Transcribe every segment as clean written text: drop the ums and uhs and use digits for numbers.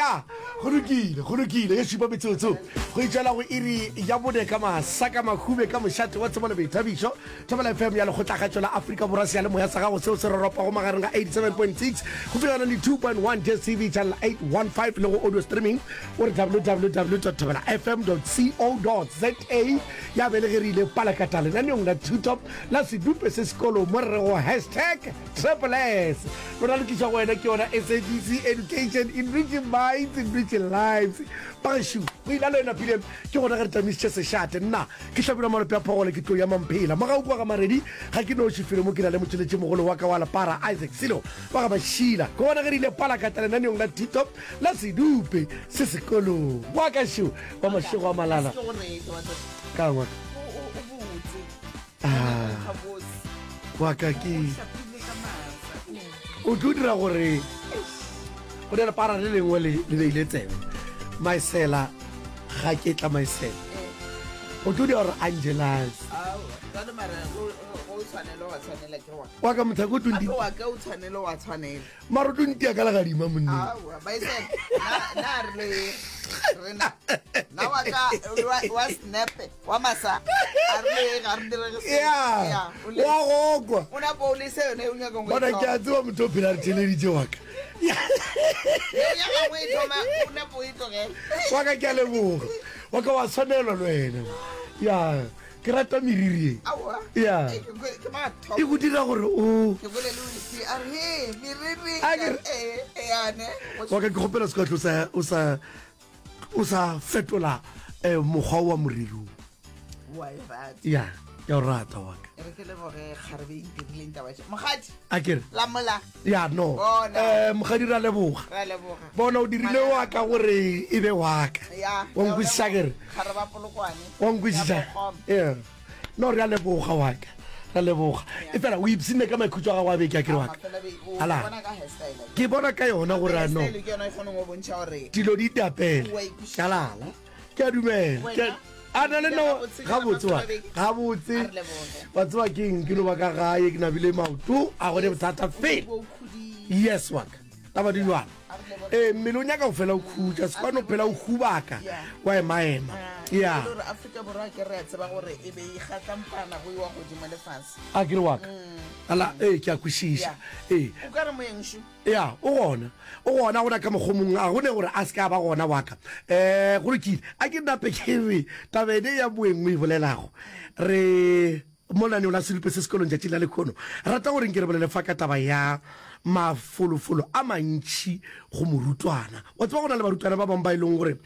Ya, go lokile, go lokile. Ye šupa metsotso go itšwela go iri ya bone ka masa ka mahube ka mošate wa tsebo le boithabišo. Thobela FM ya Lekgotlakgatšo la Afrika Borwa seyalemoya sa gago seo se roropago magareng ga 87.6 go fihla 92.1 DSTV channel 815 le go audio streaming o re www.thobelafm.co.za ya be le ge re ile palakata lenaneong la thuto la sedupe se sekolo mo re rego hashtag Triple S. Lona le tlišwa go wena ke yona SABC Education, enriching minds, enriching lives. Bagešo, go ila le wena pile ke gona ge re tamišitše sešate. Nna ke Hlabirwa Malope a Phogole ke tlo ya Mamphela. Mogau kwa ga Maredi ga ke noši felo mo ke na le motšweletši mogolo wa ka wa lepara Isaac Silo wa ga Mašila. Ke gona ge re ile palakata lenaneong la thuto la sedupe se sekolong. Wa ka šo wa mašego a malala. Ka ngwaka. Ah, wa ka ke o tlo dira gore go ne lepara le lengwe le le beile tsebe maesela ga ke tla maesela o tlo dira gore angelas wa ka mothako o tlo mara o tlo ntia ka legadima monna Aowa, baisele, na na re le rena na wa ka wa, wa snap wa masa a re le ga re direge se. ya Ya, o le wa gokwa o na po le se yone o nyaka go bona ke a tseba motho o phela re theleditše wa ka Ya gagwe e thoma o na po e tlogela. wa ka ke a leboga wa ka wa tshwanelwa le wena ya Ke rata meriri e. Aowa. Ya. Ke kwe- ke mathomo. E go dira gore o Ke bolele o le a re he meriri. A ke re- Eh, eh, yane. wa ka ke kgopela se ka tlo sa o sa o sa fetola eh, mokgwa wa moriri o. Wa e rata. Ya, ke a o rata wa ka. E re ke leboge kgarebe e ntirileng taba tše. Mokgadi, A ke re lamola. ya no. Bona. Eh mokgadi ra leboga. Ra leboga. Bona o dirile wa ka gore e be wa ka. Ya. Wa nkwešiša ke re. Kgarebe a Polokwane. Wa nkwešiša? Ya Bokgoma. Yeah. No re a leboga wa ka. Ra leboga. E fela o ipshinne ka maikhutšo a gago a beke a ke re wa ka. Mafelo a beke. O Ala. bona ka hairstyle. Ke bona ka yona gore a no. Hairstyle ke yona e kgonang go bontšha gore Dilo di itapele. Wa ikwešiša. Kalala. Ke a dumela. Wena? Ke a- A na le no gabotse wa gabotse. A re leboge. Wa tseba ke eng ke no ba ka gae ke nabile maoto a gone bothata fela. o khudile. Yes wa ka. Taba di jwalo. Ee, mmele o nyaka go fela o khutša, se kwane o phela o hubaka wa emaema. Ya. E le gore Afrika Borwa ke re a tseba gore e be e kgatlampana go iwa godimo le fase. A ke re wa ka. Ala, ee, ke a kwešiša. Ee. O ka re moeng šo. Ya, o gona. O gona, gona ka mokgwa o mongwe, a go ne gore a se ke a ba gona wa ka. Um, go lokile. A ke nape ke re taba ene ya moeng o e bolelago, re Mo lenaneong la Sedupe se Sekolong tšatšing la lehono, re rata gore nke re bolele fa ka taba ya mafolofolo a mantši go morutwana. Wa tseba go na le barutwana ba bangwe ba e leng gore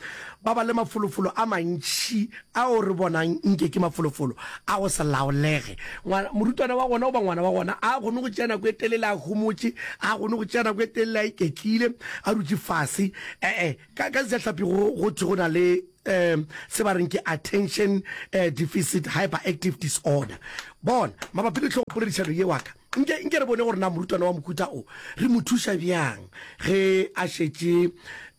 ba ba le mafolofolo a mantši ao re bonang nke ke mafolofolo a go se laolege. Ngwana, morutwana wa gona goba ngwana wa gona a kgone go tšea nako e telele a homotše, a kgone go tšea nako e telele a iketlile, a dutše fase. E-e, ka, ka Sejahlapi go, go thwe go na le um se ba reng ke attention eh, deficit hyperactive disorder. Bona, mabapi le tlhogopoledišano ye wa ka, nke, nke re bone gore na morutwana wa mohuta o re mo thuša bjang ge a šetše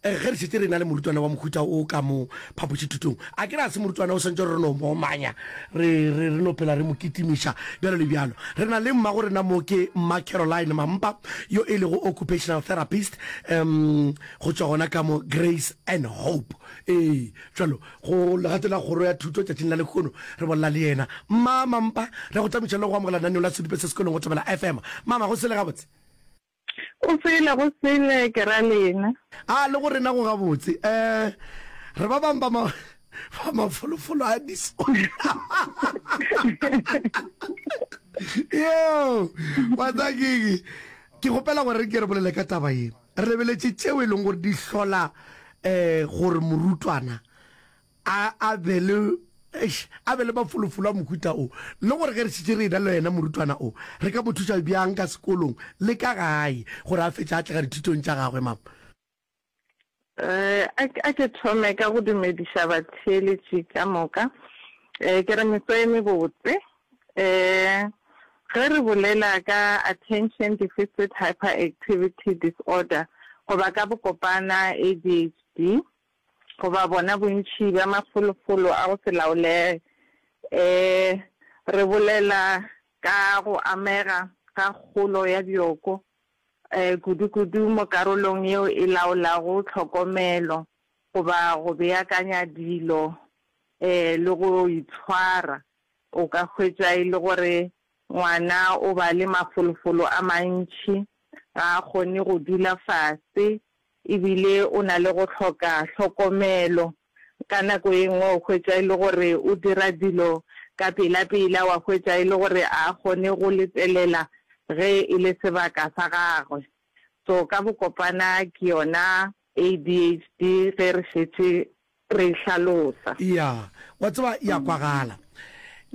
eh, ge re šetše re na le morutwana wa mohuta o ka mo phapošithutong. A ke re a se morutwana o swantše re no mo omanya, re, re, re no phela re mo kitimiša bjalo le bjalo. Re na le mmago rena mo ke Mma Caroline Mampa yo e lego occupational therapist um go tšwa gona ka mo Grace and Hope. Ee, bjalo, go legato la kgoro ya thuto tšatšing la lehono, re bolela le yena. Mma Mampa, re go tamiša le go amogela lenaneo la Sedupe se Sekolong go Thobela FM. Mama, go sele gabotse? Go sele, go sele, ke ra lena. A, le go rena go gabotse. Eh, re ba bang ba ma, ba mafolofolo a disorder. Yo, wa tseba ke eng? Ke kgopela gore re ke re bolele ka taba ye. Re lebeletše tšeo e leng gore di hlola um gore morutwana a a be le eish, a be le mafolofolo a mohuta o, le gore ge re šetše re ena le yena morutwana o, re ka mo thuša bjang ka sekolong le ka gae gore a fetše a atlega dithutong tša gagwe, mama. Eh, a a ke thome ka go dumediša batheeletši ka moka. Eh, ke re meso e mebotse. Eh, ge re bolela ka Attention Deficit Hyperactivity Disorder goba ka bokopana ADHD, goba bona bontši bja mafolofolo a go se laolege, eh, re bolela ka go amega ga kgolo ya bjoko. um kudu-kudu mo karolong yeo e laolago tlhokomelo goba go beakanya dilo um le go itshwara. O ka hwetša e le gore ngwana o ba le mafolofolo a mantši, ga a kgone go dula fase e bile o na le go hloka hlokomelo. Ka nako e nngwe o hwetša e le gore o dira dilo ka pela-pela, wa hwetša e le gore a kgone go letelela ge e le sebaka sa gagwe. So ka bokopana ke yona ADHD ge re šetše re e hlalosa. Ya, wa tseba, ya kwagala.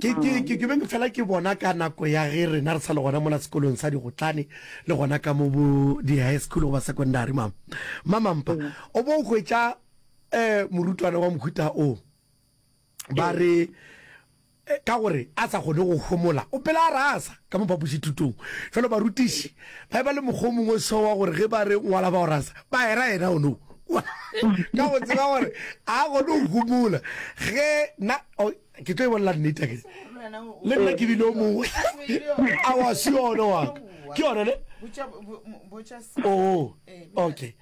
Ke, ke, ke, ke be ke fela ke bona ka nako ya ge rena re sa le gona mola sekolong sa digotlane le gona ka mo bo di-high school goba secondary, mama. Mamampa, o bo o hwetša um morutwana wa mohuta o, ba re, Ka gore a sa kgone go homola, o phela a rasa ka mo phapošithutong. Fela barutiši ba eba le mokgwa o mongwe so wa gore ge ba re ngwala ba o rasa, ba era yena o no. Ka go tseba gore a kgone go homola. Ge na, oh, ke tlo e bolela nnete akere. Le nna ke bile o mongwe. Aowa, se yona wa ka. Ke yona ne? Oh, okay.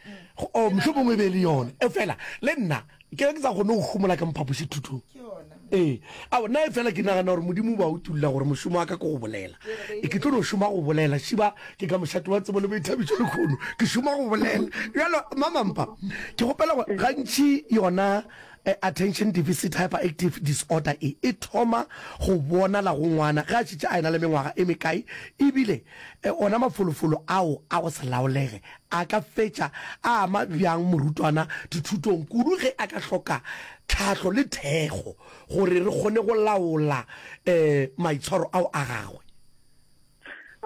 Oh, mohlomongwe e be e le yona. Efela le nna Ke be ke sa kgone go homola ka mo phapošithutong. Ee. Ao, nna efela ke nagana gore Modimo o ba utolla gore mošomo wa ka ke go bolela. E, ke tlo no šoma go bolela. Šiba, ke ka mošate wa tsebo le boithabišo lehono. Ke šoma go bolela. Bjalo, Mamampa, ke kgopela gore gantši yona eh, attention deficit hyperactive disorder e, e thoma go bonala go ngwana ge a šetše a ena le mengwaga e mekae, ebile eh, ona mafolofolo ao a go se laolege A ka fetša a ama bjang morutwana dithutong, kudu ge a ka hloka tlhahlo le thekgo gore re kgone go laola maitshwaro ao a gagwe?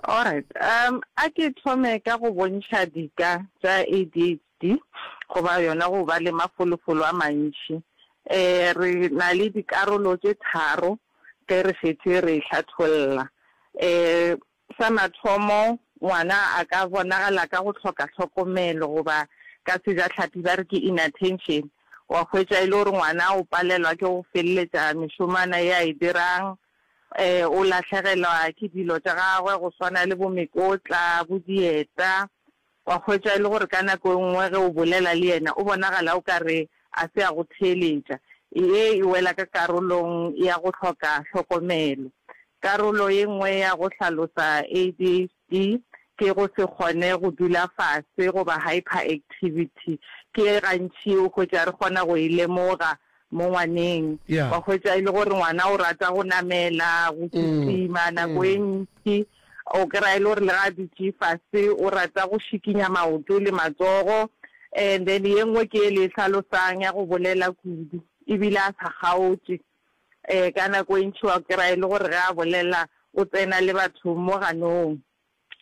Alright, um, a ke thome ka go bontšha dika tša ADHD goba yona go ba le mafolofolo a mantši. Um, re na le dikarolo tše tharo ge re šetše re e hlatholla. Um, Sa mathomo, ngwana a ka bonagala ka go hloka hlokomelo goba ka sejahlapi ba re ke inattention. Wa hwetša e le gore ngwana o palelwa ke go feleletša mešomana ye a e dirang, o lahlegelwa ke dilo tša gagwe go swana le bo mekotla, bo dieta. Wa hwetša e le gore ka nako e nngwe ge o bolela le yena o bonagala o ka re a se a go theeletša. Ye e wela ka karolong ya go hloka hlokomelo. Karolo ye nngwe ya go hlalosa ADHD ke go se kgone go dula fase goba hyperactivity. Ke ye gantši o hwetša re kgona go e lemoga mo ngwaneng. Wa hwetša e le gore ngwana o rata go namela, go kitima nako e ntši. O kry-a e le gore le ga a dutše fase o rata go šikinya maoto le matsogo. And then ye nngwe ke ye le e hlalosang ya go bolela kudu ebile a sa kgaotše. Ka nako e ntši wa kry-a e le gore ge a bolela o tsena le batho mo ganong.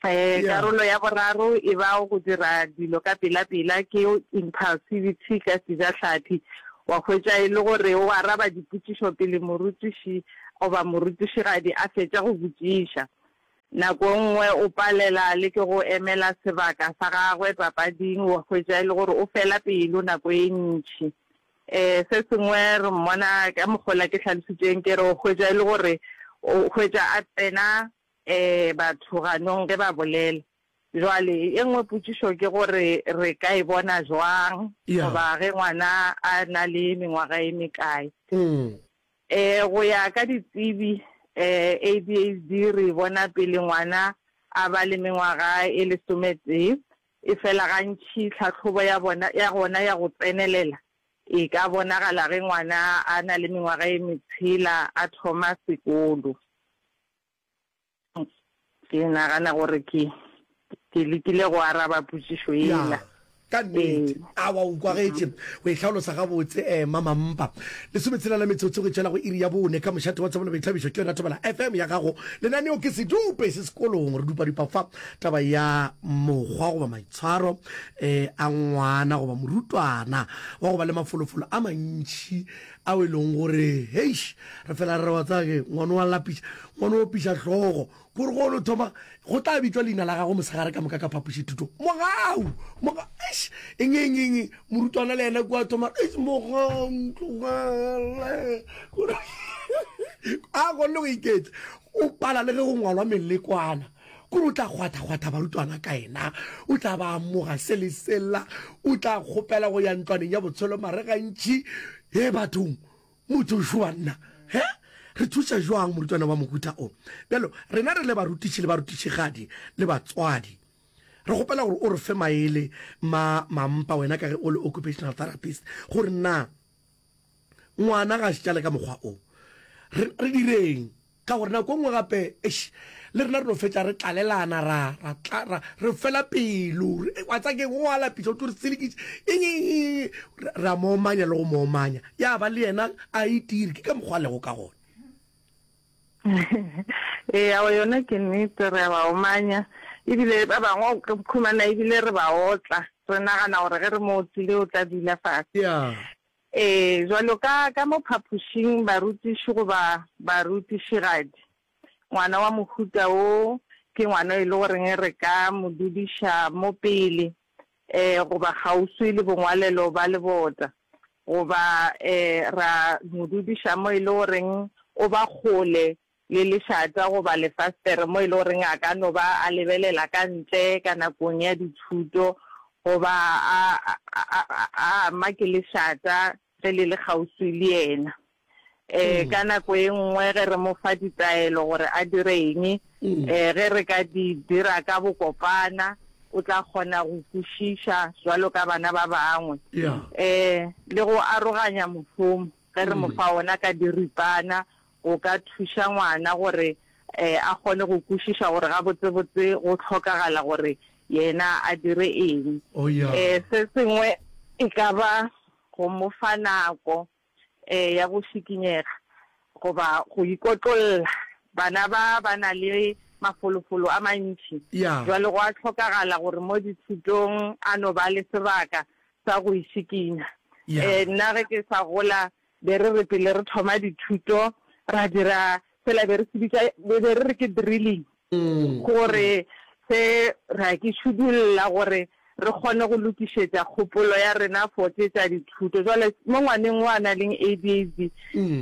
Karolo ya boraro e ba go dira dilo ka pela-pela, ke impulsivity ka sejahlapi. Wa hwetša e le gore o araba dipotšišo pele morutiši goba morutišigadi a fetša go botšiša. Nako e nngwe o palela le ke go emela sebaka sa gagwe papading, wa hwetša e le gore o fela pelo nako e ntši. Se sengwe re mmona ka mokgwa ke hlalositšeng ke re o hwetša e le gore o hwetša a tsena batho ganong ge ba bolela. Jwale e nngwe potšišo ke gore re ka e bona jwang goba ge ngwana a na le mengwaga e mekae. Go ya ka ditsebi ADHD re e bona pele ngwana a ba le mengwaga e lesometee, efela gantši tlhahlobo ya bona ya gona ya go tsenelela e ka bonagala ge ngwana a na le mengwaga e metshela a thoma sekolo. Ke nagana gore ke, ke lekile go araba potšišo Ya, yela. ka nnete. Ee. Aowa, o kwagetše. O e hlalosa gabotse, eh, Mamampa. Lesometshela la metsotso go tšwela go iri ya bone ka mošate wa tsebo le boithabišo ke yona Thobela FM ya gago. Lenaneo ke Sedupe se sekolong. Re dupadupa fa taba ya mokgwa goba maitshwaro eh, a ngwana goba morutwana wa go ba le mafolofolo a mantši ao e leng gore heish re fela re re wa tseba ke ngwana wa lapiša ngwana o piša hlogo kore go no thoma go tla bitšwa leina la gago mosegare ka moka ka phapošithuto mogau moga eish eng eng eng morutwana le yena kua thoma eish mogau ntlogele a kgonne go iketla o pala le ge go ngwalwa melekwana. Kore o tla kgwatha-kgwatha barutwana ka yena, o tla ba amoga se le sela, o tla kgopela go ya ntlwaneng ya botshelo mare gantši. He bathong, motho šo banna, he? Re thuša jwang morutwana wa mohuta o? Bjalo, rena re le barutiši le barutišigadi le batswadi, re kgopela gore o re fe maele ma mampa wena ka ge o le occupational therapist, gore na ngwana ga a šetšale ka mokgwa o, re, re direng? Ka gore nako e nngwe gape, eish, le rena re no fetša re tlalelana, ra, ra, tla, ra, re fela pelo. Re, wa tseba keng, o a lapiša, o tlo re selekiša, eng, eng, eng, eng, re, re a mo omanya le go mo omanya. Ya ba le yena a itire, ke ka mokgwa a lego ka gona. Ee, aowa yona ke nnete, re a ba omanya. Ebile ba bangwe o ka khumana ebile re ba otla, re nagana gore ge re mo otlile o tla dula fase. Ya. Ee, bjalo ka ka mo phapošing barutiši goba barutišigadi, ngwana wa mohuta wo ke ngwana e le goreng re ka mo dudiša mo pele um goba kgauswi le bongwalelo ba lebota, goba um ra mo dudiša mo e le goreng o ba kgole le lešata goba lefastere mo e le goreng a ka no ba a lebelela ka ntle ka nakong ya dithuto goba a, a, a, a ama ke lešata ge le le kgauswi le yena. E, ka nako e nngwe ge re mo fa ditaelo gore a dire eng, e, ge re ka di dira ka bokopana, o tla kgona go kwešiša jwalo ka bana ba bangwe. E, le go aroganya mošomo ge re mo fa ona ka diripana, go ka thuša ngwana gore a kgone go kwešiša gore gabotsebotse go hlokagala gore yena a dire eng. Se sengwe e ka ba go mo fa nako ya go šikinyega goba go ikotlolla. Bana ba ba na le mafolofolo a mantši, bjale go a hlokagala gore mo dithutong a no ba le sebaka sa go išikinya. Nna ge ke sa gola Be re re pele re thoma dithuto ra dira sela be re se bitša, be re re ke drilling, gore se ra ke šudulla gore re kgone go lokišetša kgopolo ya rena for tše tša dithuto. Jwale mo ngwaneng o a na leng ADHD,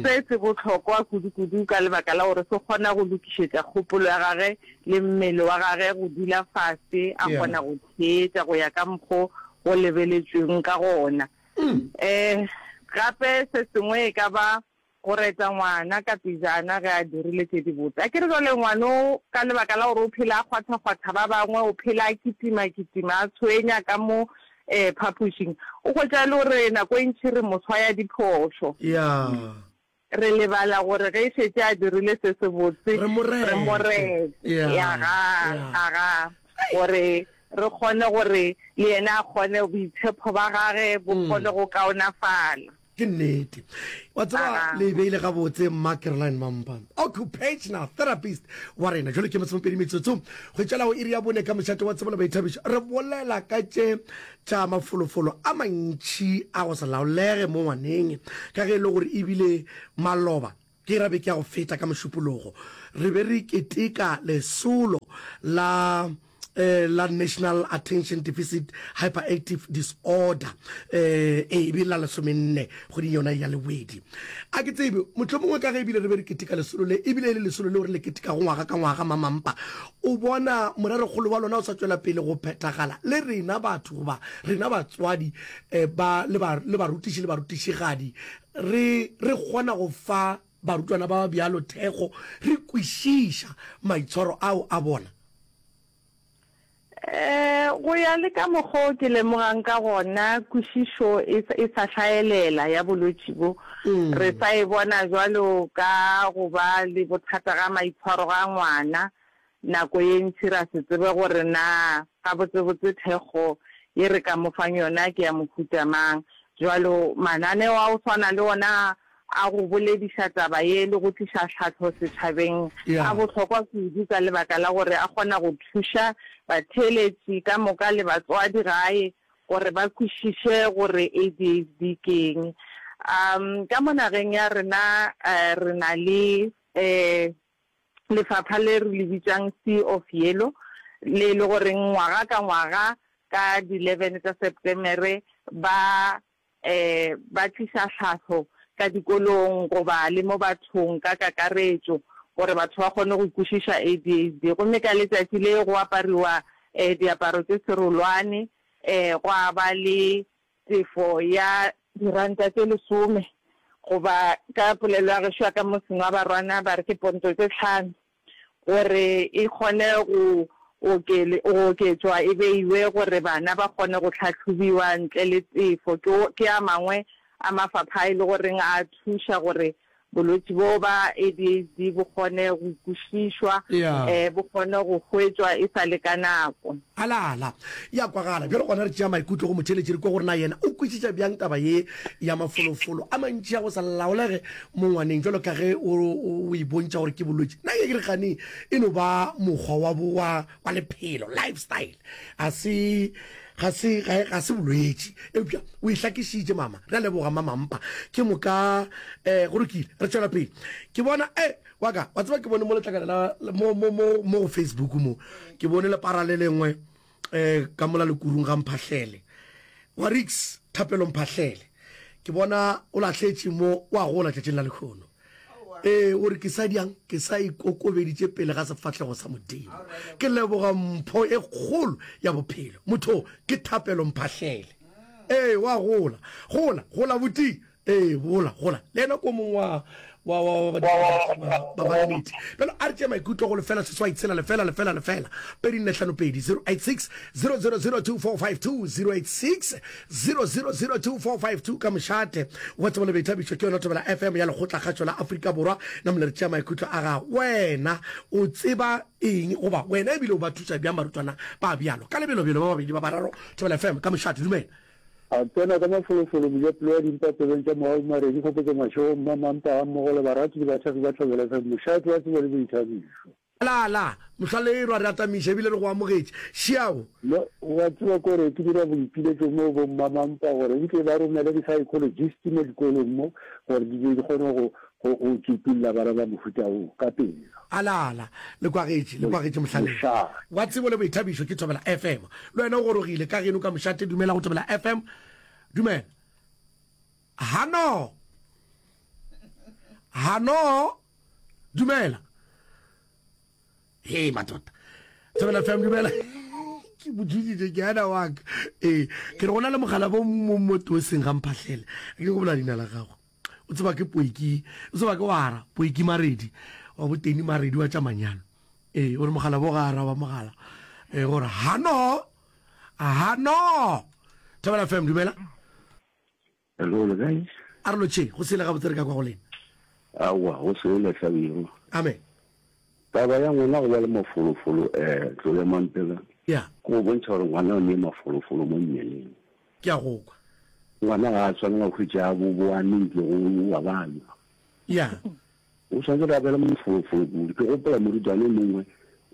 se se bohlokwa kudu-kudu ka lebaka la gore se kgona go lokišetša kgopolo ya gage le mmele wa gage go dula fase a kgona go theetša go ya ka mokgo go lebeletšweng ka gona. Um gape se sengwe e ka ba go reta ngwana ka pejana ge a dirile tše dibotse. A ke re jwale ngwano ka lebaka la gore o phela a kgwatha-kgwatha ba bangwe, o phela a kitima-kitima, a tshwenya ka mo um phapošing, o hwetša e le gore nako e ntši re mo swaya diphošo. Ya. Re lebala gore ge e šetše a dirile se sebotse, Re mo re mo rete. rete. Aga, aga, gore re kgone gore le yena a kgone, boitshepo ba gage bo kgone go kaonafala. Ke nnete. Wa tseba, Aga. le e beile gabotse, Mma Caroline Mampa, occupational therapist wa rena. Jwale ke masomepedi metsotso go tšwela go iri ya bone ka mošate wa tsebo le boithabišo. Re bolela ka tše tša mafolofolo a mantši a go se laolege mo ngwaneng, ka ge e le gore e bile maloba, ke ra beke ya go feta ka Mošupologo, re be re keteka lesolo la la National Attention Deficit Hyperactive Disorder, ee, e be la lesomenne kgweding yona ya Lewedi. A ke tsebe, mohlomongwe ka ge e bile re be re keteka lesolo le, e bile e le lesolo leo re le ketekago ngwaga ka ngwaga, Mamampa, O bona morerokgolo wa lona o sa tšwela pele go phethagala le rena batho goba rena batswadi ba, le ba, le barutiši le barutišigadi, re, re kgona go fa barutwana ba ba bjalo thekgo, re kwešiša maitshwaro ao a bona? Go ya le ka mokgo ke lemogang ka gona, kwešišo e, e sa hlaelela ya bolwetši bo. Re sa e bona bjalo ka go ba le bothata ga maitshwaro ga ngwana. Nako ye ntši ra se tsebe gore na gabotsebotse thekgo ye re ka mo fang yona ke ya mohuta mang. Bjalo mananeo a go swana le ona a go bolediša taba ye le go tliša tlhahlo setšhabeng a bohlokwa kudu ka lebaka la gore a kgona go thuša batheeletši ka moka le batswadi gae gore ba kwešiše gore ADHD ke eng. Ka mo nageng ya rena re na le lefapha le re le bitšang Sea of Yellow le e le goreng ngwaga ka ngwaga ka di 11 tša Septemere ba ba tliša tlhahlo ka dikolong goba le mo bathong ka kakaretšo. gore batho ba kgone go kwešiša ADHD. Gomme ka letšatši le go apariwa diaparo tše serolwane, gwa ba le tefo ya diranta tše lesome, goba ka polelo ya gešo ya ka motseng wa Barwana ba re ke ponto tše tlhano, gore e kgone go go oketšwa e beiwe gore bana ba kgone go hlahlobiwa ntle le tefo. Ke ke a mangwe a mafapha a e le goreng a thuša gore bolwetši bo ba ADHD bo kgone go kwešišwa, bo kgone go hwetšwa e sa le ka nako. Alala. Ya kwagala. Bjalo gona re tšea maikutlo go motheeletši re kwe gore na yena o kwešiša bjang taba ye ya mafolofolo a mantši a go sa laolege mo ngwaneng bjalo ka ge o, o e bontšha gore ke bolwetši. Nna ke re gane e no ba mokgwa wa, wa, wa lephelo, lifestyle. A se, ga se, ga, ga se bolwetši. Eupša o e hlakišitše mama. Re a leboga Mamampa. Ke moka, eh, go lokile. Re tšwela pele. Ke bona, eh, Wa ka, wa tseba ke bone mo letlakala la mo mo mo mo go Facebook mo. Ke bone lepara le lengwe eh ka mola lekurung ga Mphahlele. Wa Rix Thapelo Mphahlele. Ke bona o lahletše mo wa gola tšatšing la lekhono. Ee, o re ke sa diang ke sa ikokobeditše pele ga sefahlego sa Modimo. Ke leboga mpho e kgolo ya bophelo. Motho ke Thapelo Mphahlele. Ee, wa gola. Gola, gola buti. Ee, gola, gola. Le yena ko mongwe wa, wa, wa, wa, wa, ba ba nnete. Bjalo a re tšee maikutlo go lefela seswai tshela lefela lefela lefela pedi nne hlano pedi 086 0002452 086 0002452 ka mošate wa tsebo le boithabišo ke yona Thobela FM ya Lekgotlakgašo la Afrika Borwa. Namole re tšea maikutlo a gago. Wena o tseba eng goba wena ebile o ba thuša bjang barutwana ba bjalo? Ka lebelobelo ba babedi ba bararo Thobela FM ka mošate. Dumela. A tsena ka mafolofolo mojapelo wa dimpa tsebeng tša Mogau Maredi, Kgopotso Mašego, Mma Mampa gammogo le barati le bathekgi ba Thobela FM, mošate wa tsebo le boithabišo. La, la, Mohlalelwa, re atamiša ebile re go amogetše. Šiao. No, wa tseba kore ke dira boipiletšo mo bo Mma Mampa gore nke ba romele di-psychologist mo dikolong mo gore di be di kgone go, go, go tsupulla bana ba mohuta wo ka pela. Ala, ala, le kwagetše, le kwagetše Mohlalelwa. Mošate. Wa tsebo le boithabišo ke Thobela FM. Le wena o gorogile ka geno ka mošate, dumela go Thobela FM. Dumela. Hano. Hano. Dumela. Hei matota. Thobela FM dumela. Ke botšišitše ke ana wa ka. Ee, ke re go na le mogala bo mo mo toseng ga mphahlele. Ke go bola leina la gago. O tseba ke Poiki, o tseba ke wara, Poiki Maredi, wa boteni Maredi wa tša manyalo. Ee, o re mogala bo ga araba mogala. Ee, gore hano, hano. Thobela FM, dumela. Hello, le kae? A re lotšheng, go sele gabotse re ka kwa go lena. Aowa, go sele hlabirwa. Amen. Taba ya ngwana go ba le mafolofolo um tlo ya mampela. Ya. Ke go bontšha gore ngwana o ne mafolofolo mo mmeleng. Ke a go kwa. Ngwana ga a tshwanela go hwetša a boboane nke go wa bana. Ya. O swanetše gore a be le mafolofolo kudu. Ke gopola morutwana e mongwe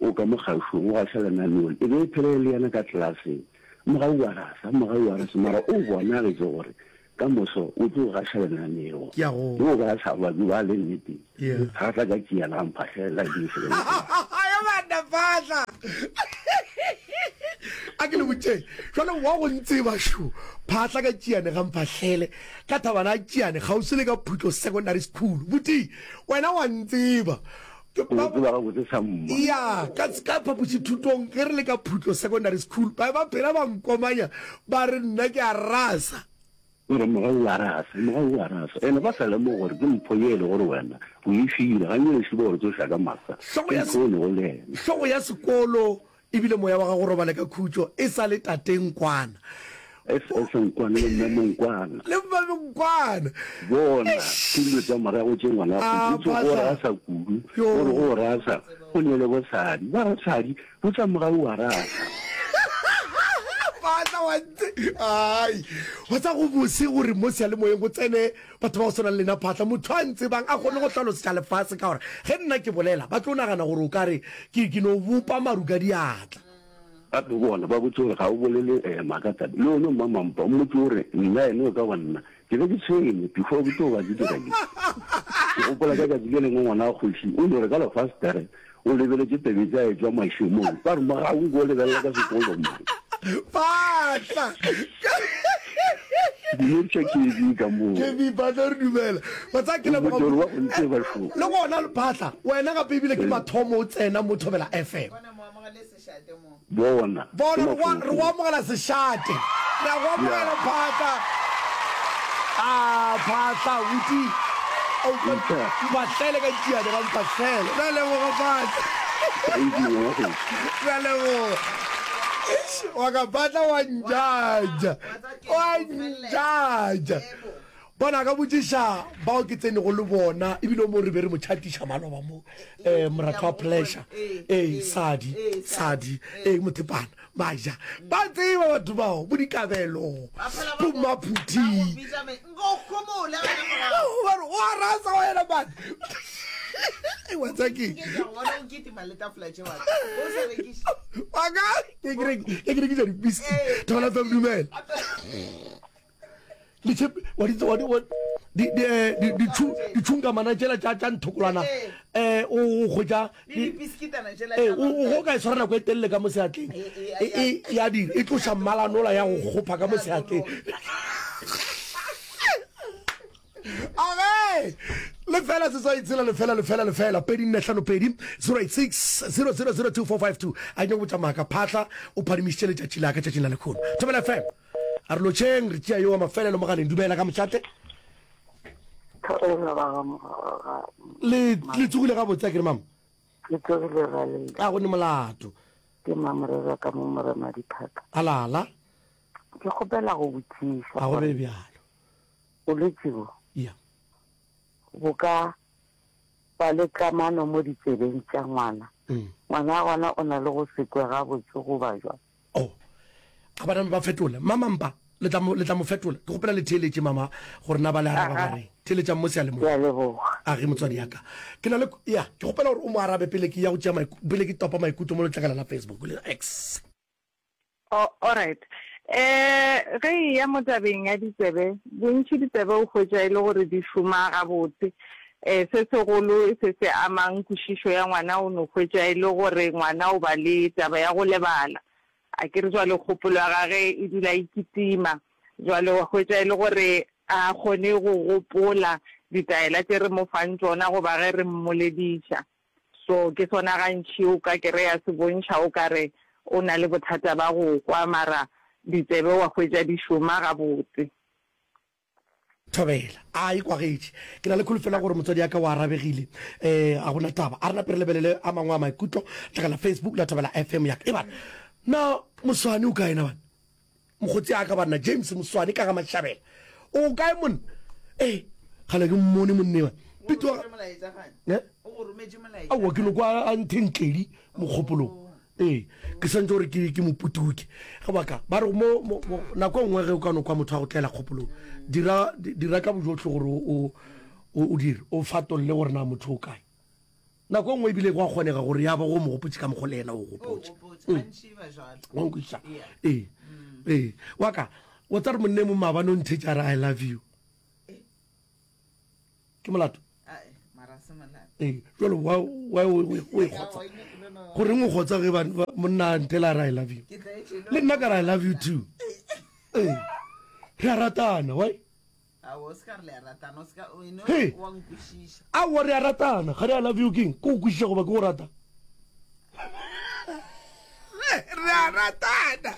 o ka mo kgašong, o gaša lenaneo le. E be e phela e le yena ka klaseng. Mogau wa rasa, mogau wa rasa, mara o bonagetše gore ka moso o tlo gaša lenaneo. Ke a go. Yo o be a sa ba ba le nnete. Yeah. Ga tla ka tšea la mphahlela ke se le. Ya banna phahla. A ke le botšeng. Jwale wa go ntseba sho. Phahla ka tšiane ga mphahlele. Ka thabana a tšiane kgauswi le ka Phutlo Secondary School. Buti, wena wa ntseba. O tseba gabotse sa mma. Ya, ka ka phapošithutong ge re le ka Phutlo Secondary School, ba ba phela ba nkomanya ba re nna ke a rasa. O re, Mogau wa rasa, mogau wa rasa. Ene ba sa lemoge gore ke mpho ye e le gore wena o e file. Ga nke lešilo gore tsoša ka masa. Hlogo Ke ya mpho e lego le yena. Hlogo ya sekolo ebile moya wa gago robale ka khutšo e sa le tate Nkwana. SS Nkwana le mme Monkwana. Le mme Monkwana. Bona, ke dilo tša morago tše ngwana Ah, go go Phahla. rasa kudu. Yo. Gore go rasa, go ne le bosadi. Ba rasadi, botša mogau wa rasa. Phahla wa ntse. Ai, wa tsa go bose gore mo seyalemoyeng go tsene batho ba go swana le lena Phahla. Motho a ntsebang a kgone go hlalosetša lefase ka gore ge nna ke bolela ba tlo nagana gore o ka re ke ke no bopa maru ka diatla. Gape bona ba botse gore ga o bolele eh, maaka tabe. Le one mmamampa o mmotse gore nna ene o ka ba nna ke be ke tshwenye before ke tlo ba ke dira ke. Ke gopola ka tšatši le lengwe ngwana wa kgoši o no re ka lefastere o lebeletše pebetse a etšwa mašemong ba re mogau nko o lebelela ka sekolong man. Phatla. Dumediša KB ka moo. KB Phatla re dumela. Wa tsaya ke leboga. Motori wa go ntseba šo. Le gona Phatla, wena gape ebile ke mathomo o tsena mo Thobela FM. Bona. Bona re go re go amogela sešate. Re a go amogela Phatla. Ah Phatla buti. O mpahlele ka tšiane ga mpahlele. Re a leboga Phatla. Thank you ngwana. Re a leboga. Eish, wa ka Phatla wa njaja. Wa njaja. Bona ka botšiša bao ke tsenego le bona ebile o mo re be re mo tšhatiša maloba mo um moratho wa pleasure ee sadi sadi ee mothepana maja ba tseba batho bao bo dikabelo bo maphuthi bare o a rasa wena man wa tsa ke waka ke ke rekiša dipiski thobela fm dumela ditšhunkamana tšela tša tša nthokolwana um o hwetša go ka e tshwara nako e telele ka mo seatleng ya dira e tloša mmalanola ya go kgopha ka mo seatleng age lefela seswai tshela lefela lefela lefela 2452 086 0002452 a nyako botša maaka phatla o phadimišitše letšatši la ka tšatšing la lekgono thobela fm A re lotšheng, re tšea yo wa mafelelo mogaleng. Dumela ka mošate. Le le tsogile gabotse a ke re mama? Ke tsogile ralele. A go ne molato. Ke mamorera ka mo morema diphaka. Alala. Ke kgopela go botšiša. A go be bjalo. Bolwetši bo. Ya. Bo ka ba le kamano mo ditsebeng tša ngwana. Mm. Ngwana gona o na le go se kwe gabotse goba jwang? Oh, a ba name ba fetola. Mama mpa, le tla mo, le tla mo fetola. Ke kgopela le theeletše, mama, gore na ba le araba ba reng. Theeletšang mo seyalemoya. Ke a leboga. A ge, motswadi ya ka. Ke na le, ya, ke kgopela gore o mo arabe pele ke ya go tšea maiku, pele ke topa maikutlo mo letlakala la Facebook le X. Oh, alright. Eh, ge e ya mo tabeng ya ditsebe, bontši ditsebe o hwetša e le gore di šoma gabotse. Eh, se segolo se se amang kwešišo ya ngwana o no hwetša e le gore ngwana o ba le taba ya go lebala. A ke re jwale kgopolo ya gage e dula e kitima. Jwale wa hwetša e le gore a kgone go gopola ditaela tše re mo fang tšona goba ge re mmolediša. So ke sona gantši o ka kereya se bontšha o ka re o na le bothata ba go kwa mara ditsebe wa hwetša di šoma gabotse. Thobela. A e kwagetše. Ke na le kholofelo ya gore motswadi ya ka o arabegile. Eh, ga gona taba. A re nape re lebelele a mangwe a maikutlo. Tlogela Facebook la Thobela FM ya ka. E bana, na Moswane o kae na bana? Mokgotsi a ka banna, James Moswane ka ga Mashabela. O kae monna? Eh, gale ke mmone monne wa. Pito wa. Eh? Aowa ke no kwa a nthentledi mokgopolong. Ee, ke swantse gore ke ke moputuke. Ge baka ba re mo, mo, mo nako e nngwe ge o ka no kwa motho a go tlela kgopolong, dira dira ka bojotlhe gore o o o dire, o fatolle gore na motho o kae. Nako e nngwe ebile go a kgonega gore ya ba go mo gopotše ka mokgwa le yena o gopotše. Mm. Wa nkwešiša? Ee. Ee. Wa ka, wa tsa re monne mo maabane o nthetša a re I love you. Ke molato? Ee, jalo wa wa o e kgotsa. Goreng o kgotsa ge monna a ntela a re I love you? Le nna ka re I love you too. Ee. Re a ratana, why? Hey. Aowa re a ratana, ga re I love you keng? Ke go kwešiša goba ke go rata? Re a ratana.